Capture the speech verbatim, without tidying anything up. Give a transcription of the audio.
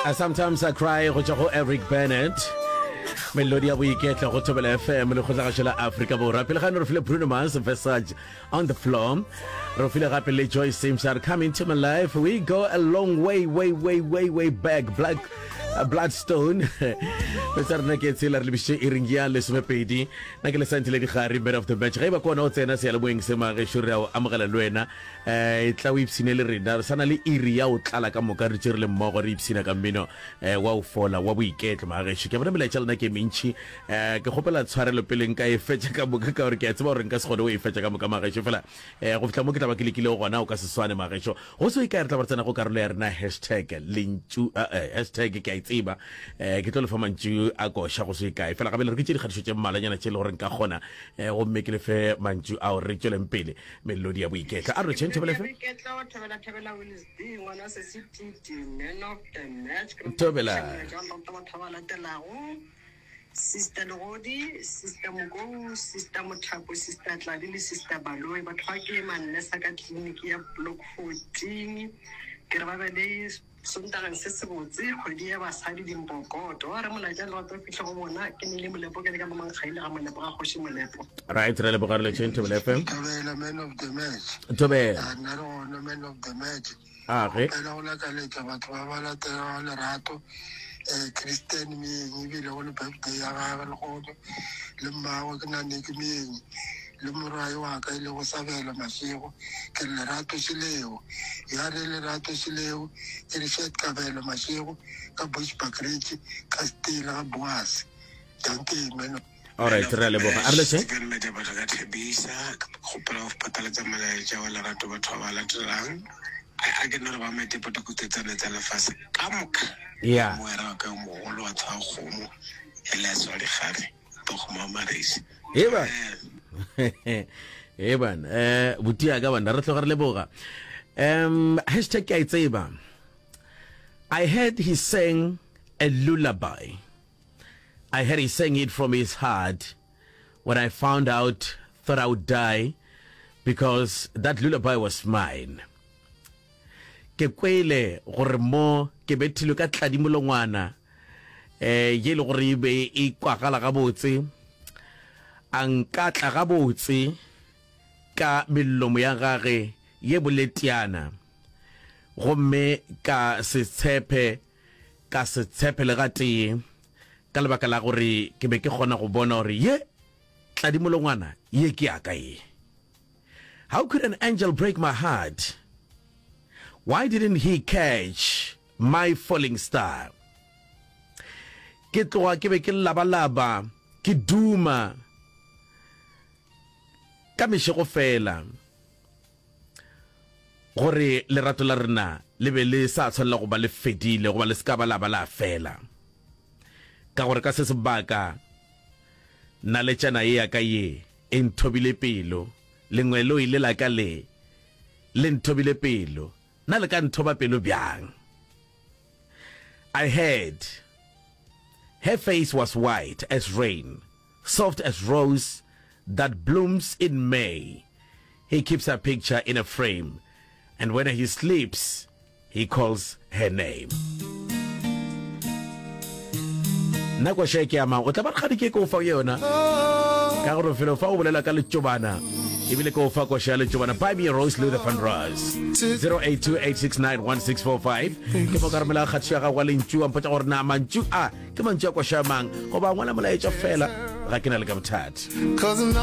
Uh, sometimes I cry go tšwa go Eric Bennett melodi ya boiketlo go thobela fm le kgotlagašo la afrika borwa pele ga no re file bruno mars versace on the floor re file gape le joy sims are coming to my life we go a long way way way way way back black uh, bloodstone tsa rena ke tsela re lebišitše iring ya lesomepedi nna ke le santile digare man of the match ge e ba ke ona o tsena seyalemoyeng se magešo re a o amogela le wena um e tla o ipshine le rena re sana le iri ya o tlala ka moka re tše re le mmogo re ipshina ka mmino um wa o fola wa boiketlo magešo ke bona melaetša lena ke mentšhi um ke kgopela tshwarelo pele nka e fetša ka moka ka gore ke a tseba gore nka se kgone go e fetša ka moka magešo fela um go fihla mo ke tla ba ke lekile gona o ka se swane magešo go se e kae re tla ba re tsena go karolo ya rena hashtag lentšu uh, uh, hashtag ke a e tseba um ke tlo lefa mantšu a koša go se kae fela gape le re ke tše dikgatišo tše mmalwanyana tše e le gore nka kgona um gomme ke lefe mantšu ao re tšweleng pele melodi ya boiketlo a re tšheng thobele fe boiketlo thobela thobela willis d ngwana se se titi man of the match Ke Thobela. molaetša wa lerato batho ba ba latelago sister legodi sister mokou sister mothapo sister tladi le sister baloi batho ba ke mannesa ka tleliniki ya block fourteen ke re ba be le sontageng se se botse kgwedi ya basadi dimpokoto wa re molaetša lerato o fitlhe go bona ke nele molepo ke le ka mamankgaile ga molepo ga kgoši molepo right re leboga re le tšheng thobele fm Thobela man of the match. thobela A nna re gona man of the match. a ge Pela go lakaletša batho ba ba latelago lerato um Christian Moeng ebile go le birthday ya gagwe legono le mmagwe ke Naneke Moeng le morwae wa ka e lego Sabelo Mashego ke re lerato šeleo ya re lerato šeleo ke re Shet Kabelo Mashego ka Bushbuckridge ka Stela ga Boase dankie man alright re a leboga a re le tšheng Steven Madiba ka Thabisa kgopela go pataletsa molaetša wa lerato batho ba ba latelang a a ke no re ba metepotokotetsane tsa lefase ka moka ya mogwera wa ka yo mogolo wa tshwa kgomo elias wa dikgare togoma maresi eba e bana eh botia ka bana re tloga re leboga um hashtag ke a e tseba i heard he sang a lullaby i heard he sang it from his heart when i found out thought i would die because that lullaby was mine ke kwele gore mo ke bethilwe ka tladimolongwana eh ye le gore e be e kwagala gabotse a nkatla gabotse ka melomo ya gage ye boletiana gomme ka se tshepe ka se tshepe le gatee ka lebaka la gore ke be ke kgona go bona gore ye tladimolongwana ye ke ya ka ye how could an angel break my heart why didn't he catch my falling star ke tloga ke be ke labalaba ke duma ka mešego fela gore lerato la rena le be le sa tshwanela go ba le fedile goba le se ka ba la ba la fela ka gore ka se sebaka naletšana ye ya ka ye e nthobile pelo lengwelo ile la ka le le nthobile pelo na le ka nthoba pelo bjang i heard her face was white as rain soft as rose that blooms in may he keeps her picture in a frame and when he sleeps he calls her name nna koša e ke amang o tla ba kgadi ke ke o fa yona ka gore felo fa o bolela ka letšobana ebile ke o fa koša ya letšobana buy me a rose luther van ros zero eight two eight six nine one six four five ke mo ka romela kgatišo ya gago wa lentšu wa mpotša gore na mantšu a ke mantšu a koša ya mang goba ngwala molaetša fela ga ke na le ka bothata Cause I'm not